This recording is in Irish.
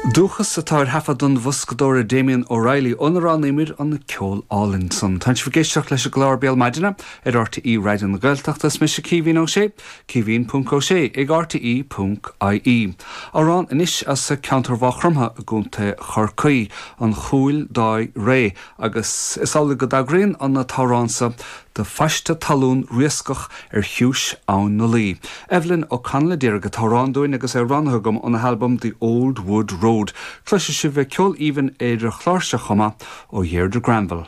Dúchas atá ar thaifead an bhoscadóra Damien O'Reilly óna roghnaíomar an ceol álainn san. Tá sibh ag éisteacht leis an gclár Béal Maidine ar RTÉ Raidió na Gaeltachta. Is mise Caoimhín Ó Sé, caoimhín ponc ó sé ag rte ponc ie. Amhrán anois as ceantar Mhaigh Chromtha i gContae Chorcaí, An Chúil Dáigh Réidh, agus is amhlaidh go dtagraíonn an t-amhrán so do phaiste talún riascach ar chiumhais Abhainn na Laoi. Evelyn O'Connell a d'iarraidh an t-amhrán dúinn agus é roghnaithe agam óna halbam The Old Wood Road. Cloisfidh sibh ceol aoibhinn ar an chlár seo chomh maith ó Dheirdre Granville.